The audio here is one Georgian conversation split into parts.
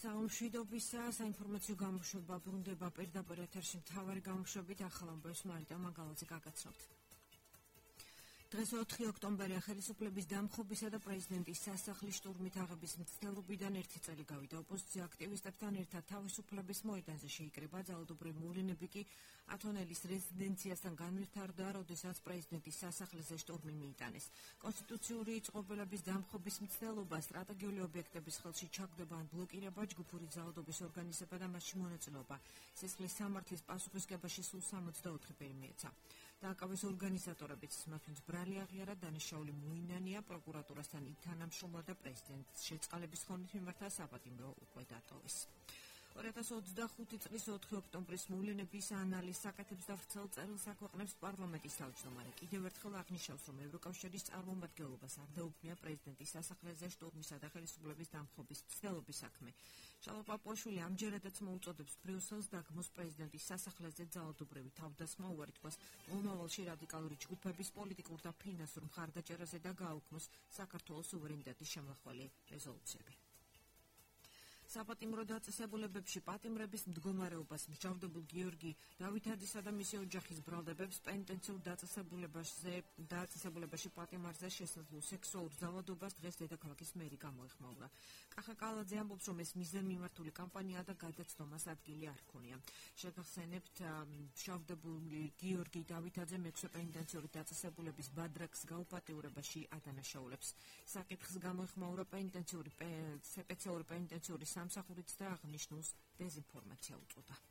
საომშვიდობისა საინფორმაციო გამოშვება ბრუნდება პირდაპირ ეთერში მთავარი გამოშვებით ახალ ამბებს მარიტა მაგალაძე გაგაცნობთ. დღეს 4 ოქტომბერია ხელისუფლების დამხობისა და პრეზიდენტის სასახლის შტურმით აღების მცდელობიდან 1 წელი გავიდა. ოპოზიცია აქტივისტებთან ერთად თავისუფლების მოედანზე შეიკრიბა. ძალადობრივი მოვლენები კი ათონელის რეზიდენციასთან განვითარდა, როდესაც პრეზიდენტის სასახლეზე შტურმი მიიტანეს. კონსტიტუციური წყობილების დამხობის მცდელობა, სტრატეგიული ობიექტების ხელში ჩაგდება ან ბლოკირება, ჯგუფური ძალადობის ორგანიზება და მასში მონაწილეობა. სისხლის სამართლის პასუხისგებაში სულ 64 პირი მიეცა. დააკავეს ორგანიზატორებიც, მათთვის ბრალი აღიარა, დანაშაული მოინანია, პროკურატურასთან ითანამშრომლა და პრეზიდენტს შეწყალების ხონით მიმართა საპატიმრო უკვე დატოვეს. 2025 წლის 4 ოქტომბრის მოვლენების ანალიზს აკეთებს და ვრცელ წერილს აქვეყნებს პარლამენტის თავმჯდომარე. კიდევ ერთხელ აღნიშნავს, რომ ევროკავშირის წარმომადგენლობას არ დაუქმია პრეზიდენტის სასახლეზე შტურმისა და ხელისუფლების დამხობის მცდელობის საქმე. შალვა პაპუაშვილი ამჯერადაც მოუწოდებს ბრიუსელს დაგმოს პრეზიდენტის სასახლეზე ძალადობრივი თავდასხმა, უარი თქვას მომავალში რადიკალური ჯგუფების პოლიტიკურ და ფინანსურ მხარდაჭერაზე და გააუქმოს საქართველოს სუვერენიტეტის შემოხველი რეზოლუციები. საპატიმრო დაწესებულებებში პატიმრების მდგომარეობას მსჯავრდებულ გიორგი დავითაძისა და მისი ოჯახის ბრალდებებს პენიტენციურ დაწესებულებაში პატიმარზე შესაძლო სექსუალურ ძალადობას დღეს დედაქალაქის მერი გამოეხმაურა. კახა კალაძე ამბობს, რომ ეს მიზანმიმართული კამპანიაა და გადაცდომას ადგილი არ ჰქონია. შეგახსენებთ, მსჯავრდებული გიორგი დავითაძე მეექვსე პენიტენციური დაწესებულების ბადრაკს გაუპატიურებაში ადანაშაულებს. საკითხს გამოეხმაურა სპეციალური პენიტენციური სამსახურით და აღნიშნულს დეზინფორმაცია უწოდა.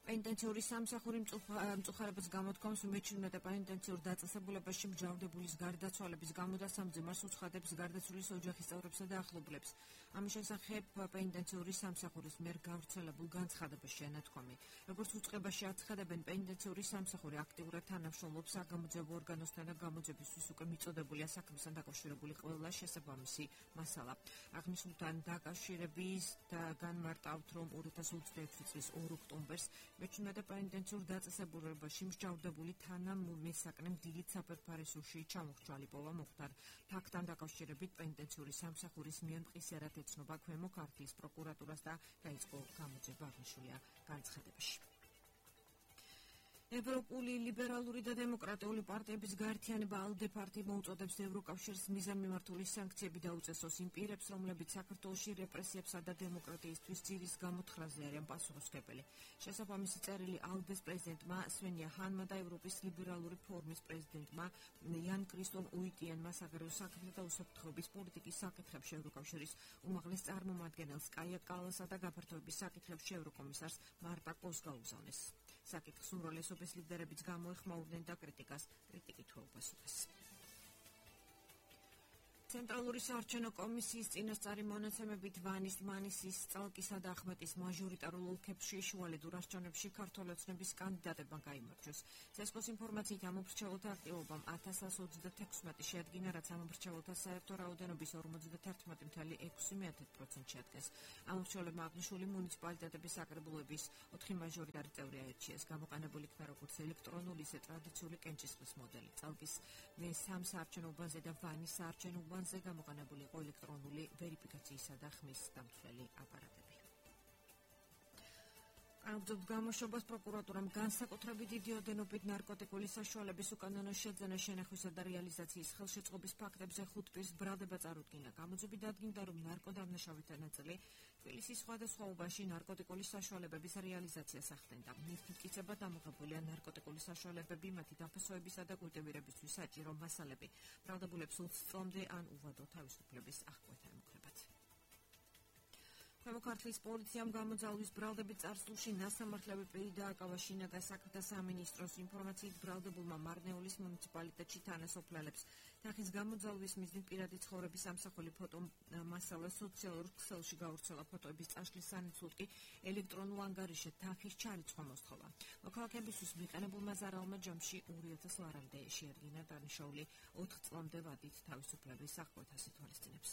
პენიტენციური სამსახური მწუხარებას გამოთქვამს მეჩვენებათა პენიტენციურ დაწესებულებაში მსჯავრდებულის გარდაცვალების გამო და სამძიმარს უცხადებს გარდაცვლილის ოჯახის წევრებსა და ახლობლებს. ამის შესახებ პენიტენციური სამსახურის მიერ გავრცელებულ განცხადებაში ენათქვამი. როგორც უწყებაში აცხადებენ, პენიტენციური სამსახური აქტიურად თანამშრომლობს საგამოძიებო ორგანოსთან და გამოძიებისთვის უკვე მიწოდებულია საქმესთან დაკავშირებული ყველა შესაბამისი მასალა. აღნიშნულთან დაკავშირების და განმარტავთ, რომ 2026 წლის 2 ოქტომბერს მეჩვენებათა პენიტენციურ დაწესებულებაში მსჯავრდებული თანამესაკნემ დილით საფერფარისურში ჩამოხრჩა ლიპოვა მოხდარ. ფაქტთან დაკავშირებით პენიტენციური სამსახურის მიერ მყისიერად ეცნობა ქვემო ქართლის პროკურატურას და დაიწყო გამოძიება, აღნიშნულია განცხადებაში. ევროპული ლიბერალური და დემოკრატიული პარტიების გაერთიანება ALDE პარტია მოუწოდებს ევროკავშირს მიზანმიმართული სანქციები დაუწესოს იმ პირებს, რომლებიც საქართველოში რეპრესიებსა და დემოკრატიისთვის ძირის გამოთხრაზე არიან პასუხისმგებელი. შესაბამისი წერილი ALDE-ს პრეზიდენტმა სვენია ჰანმა და ევროპის ლიბერალური ფორუმის პრეზიდენტმა იან კრისტონ უიტიენმა საგარეო საქმეთა და უსაფრთხოების პოლიტიკის საკითხებში ევროკავშირის უმაღლეს წარმომადგენელს კაია კალასა და გაფართოების საკითხებში ევროკომისარს მარტა კოს გაუგზავნეს. საკითხის უმრავლესობის ლიდერებიც გამოეხმაურნენ და კრიტიკით უპასუხეს. ცენტრალური საარჩევნო კომისიის წინასწარი მონაცემებით ვანის, მანისის, წალკისა და ახმეტის მაჟორიტარულ ოლქებში შუალედ ურასჯანებში ქართველ ოცნების კანდიდატებმა გაიმარჯვეს. CESCO-ს ინფორმაციით ამომრჩეველთა აქტივობამ 1036 შეადგინა, რაც ამომრჩეველთა საერთო რაოდენობის 51,6% შეადგენს. ამომრჩეველებმა აღნიშნული მუნიციპალიტეტების საკრებულების 4 მაჟორიტარი წევრი აირჩიეს. გამოყენებული იქნა როგორც ელექტრონული, ისე ტრადიციული კენჭისყრის მოდელი. წალკის მე-3 საარჩევნო უბანზე და ვანის საარჩევნო უბანზე გამოყენებული იყო ელექტრონული ვერიფიკაციისა და ხმის დამცველი აპარატები. ამბობთ გამოშვებას პროკურატურამ განსაკუთრებით დიდი ოდენობით ნარკოტიკული საშუალების უკანონო შეძენა, შენახვისა და რეალიზაციის ხელშეწყობის ფაქტებზე 5 პირს ბრალდება წარუდგინა. გამოძიები დადგინდა, რომ ნარკოდამნაშავითი ნაწილი თბილისის სხვადასხვა უბანში ნარკოტიკული საშუალებების რეალიზაციას ახდენდა. მტკიცება დამოღებულია ნარკოტიკული საშუალებები, მათი დაფასოებისა და კულტივირებისთვის საჭირო მასალები. ბრალდებულებს 20 წლამდე ან უვადო თავისუფლების აღკვეთა ემუქრებათ. ქვემო ქართლის პოლიციამ გამოძალვის ბრალდებით წარსულში ნასამართლები პირი დააკავა შინაგან საქმეთა სამინისტროს ინფორმაციით ბრალდებულმა მარნეულის მუნიციპალიტეტში თანასოფლელებს. თანხის გამოძალვის მიზნით პირადი ცხოვრების ამსახველი ფოტო მასალა სოციალურ ქსელში გავრცელა. ფოტოების წაშლის სანაცვლოდ კი ელექტრონულ ანგარიშზე თანხის ჩარიცხვა მოსთხოვა. მოქალაქეებისთვის მიყენებულმა ზარალმა ჯამში 2000 ლარამდე შეადგინა. დანაშაული 4 წლამდე ვადით თავისუფლების აღკვეთას ითვალისწინებს.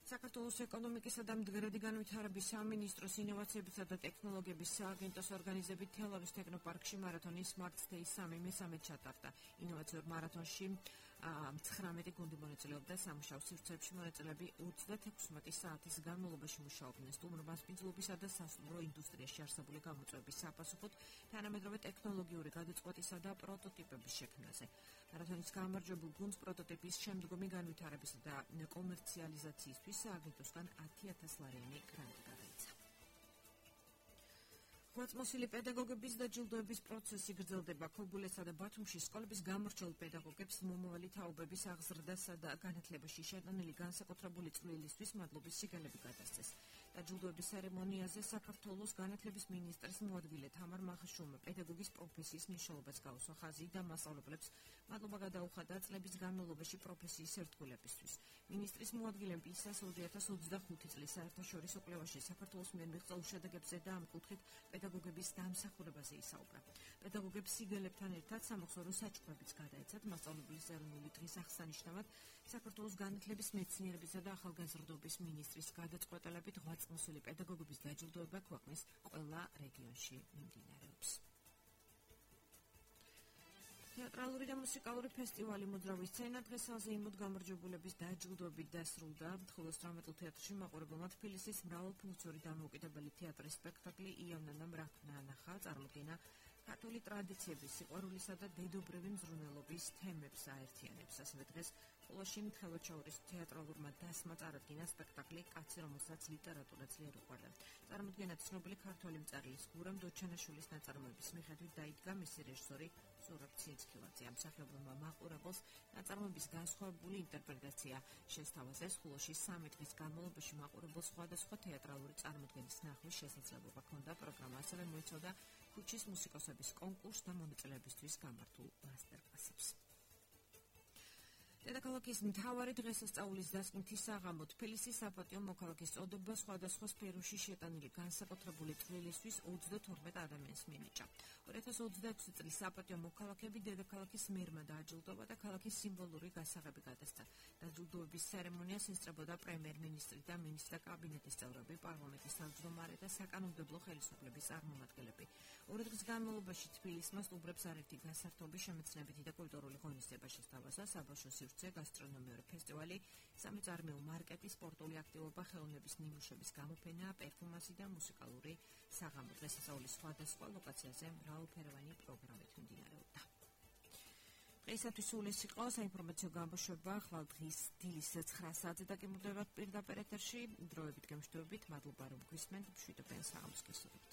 საქართველოს ეკონომიკისა და მდგრადი განვითარების სამინისტროს ინოვაციებისა და ტექნოლოგიების სააგენტოს ორგანიზებით თელავის ტექნოპარკში მარათონის Smart Day 3 მესამედ ჩატარდა. ინოვაციურ მარათონში 19 გუნდი მონაწილეობდა სამუშაო სივრცეებში. მონაწილეები 36 საათის განმავლობაში მუშაობდნენ სტუმრობას მიწულებისა და სასტუმრო ინდუსტრიაში არსებული გამოწვევების საპასუხოდ თანამედროვე ტექნოლოგიური გადაწყვეტისა და პროტოტიპების შექმნაზე. მარათონის გამარჯვებულ გუნდს პროტოტიპის შემდგომი განვითარებისა და კომერციალიზაციისთვის სააგენტოსგან 10,000 ლარიანი გრანტი გადაიცა. ღვაწლმოსილი პედაგოგების დაჯილდოების პროცესი გრძელდება. ქობულეთსა და ბათუმში სკოლების გამორჩეულ პედაგოგებს მომავალი თაობების აღზრდასა და განათლებაში შეტანილი განსაკუთრებული წვლილისთვის მადლობის სიგელები გადასცეს. დაჯილდოების ცერემონიაზე საქართველოს განათლების მინისტრის მოადგილე თამარ მახაშვილმა პედაგოგის პროფესიის მნიშვნელობას გაუსვა. ხაზი და მასწავლებლებს მადლობა გადაუხადა წლების განმავლობაში პროფესიის ერთგულებისთვის. მინისტრის მოადგილემ პისას 2025 წლის საერთაშორისო კვლევაში საქართველოს მიერ მიღწეულ შედეგებზე და ამ კუთხით პედაგოგების დამსახურებაზე ისაუბრა. პედაგოგებს სიგელებთან ერთად სამახსოვრო საჩუქრებიც გადაეცათ. მასწავლებლის ეროვნული დღის აღსანიშნავად საქართველოს განათლების მეცნიერებისა და ახალგაზრდობის მინისტრის გადაწყვეტილებით ღვაწლმოსილი პედაგოგების დაჯილდოება ქვეყნის ყველა რეგიონში მიმდინარეობს. თეატრალური და მუსიკალური ფესტივალი მოძრავი სცენა დღესაზე იმოდ გამარჯვებულების დაჯილდოებით დასრულდა. 18 თეატრში მაყურებელმა თბილისის მრავალფუნქციური დამოუკიდებელი თეატრის სპექტაკლი იანანა მრაქმნა ანახა. წარმოდგენა ქართული ტრადიციების, სიყვარულისა და დედობრივი მზრუნველობის თემებს აერთიანებს. ასევე დღეს ყოლაში მიხელოჩაურის თეატრალურმა დასმა წარადგინა სპექტაკლი კაცი, რომელსაც ლიტერატურა ძლიერ უყვარდა. წარმოდგენა ცნობილი ქართველი მწერლის გურამ დოჩანაშვილის ნაწარმოების მიხედვით დაიდგა მისი რეჟისორი ზურაბ ცინცქილაძე. ამ მსახიობმა მაყურებელს ნაწარმოების განსხვავებული ინტერპრეტაცია შესთავაზეს. ყოლაში 3 დღის განმავლობაში მაყურებელს სხვადასხვა თეატრალური წარმოდგენის ნახვის შესაძლებლობა ჰქონდა. პროგრამა ასევე მოიცავდა ქუჩის მუსიკოსების კონკურსს და მონაწილეებისთვის გამართულ მასტერკლასებს. დედაქალაქის მთავარი დღესასწაულის დასკვნითი საღამო თბილისის საპატიო მოქალაქის წოდება სხვადასხვა სფეროში შეტანილი განსაკუთრებული წვლილისთვის 32 ადამიანს მიენიჭა. 2026 წლის საპატიო მოქალაქეები დედაქალაქის მერმა დააჯილდოვა და ქალაქის სიმბოლური გასაღები გადასცა. დაჯილდოების ცერემონიას ესწრებოდა პრემიერ-მინისტრი და მინისტრთა კაბინეტის წევრები, პარლამენტის თავმჯდომარე და საკანონმდებლო ხელისუფლების წარმომადგენლები. 2 დღის განმავლობაში თბილისმა სტუმრებს არაერთი გასართობი, შემეცნებითი და კულტურული ღონისძიება შესთავაზა. საბავშვო სივრცე, გასტრონომიური ფესტივალი, სამეწარმეო მარკეტი, სპორტული აქტივობა, ხელოვნების ნიმუშების გამოფენა, პერფორმანსი და მუსიკალური საღამო. დღესასწაულის სხვადასხვა ლოკაციაზე მრავალფეროვანი პროგრამით მიმდინარეობდა. დღეისათვის სულ ეს იყო საინფორმაციო გამოშვება. ხვალ დღის დილის 9 საათზე დაგემკვიდრებათ პირდაპირ ეთერში. დროებით გემშვიდობით, მადლობა რომ გვისმენთ. მშვიდობიან საღამოს გესურვებთ.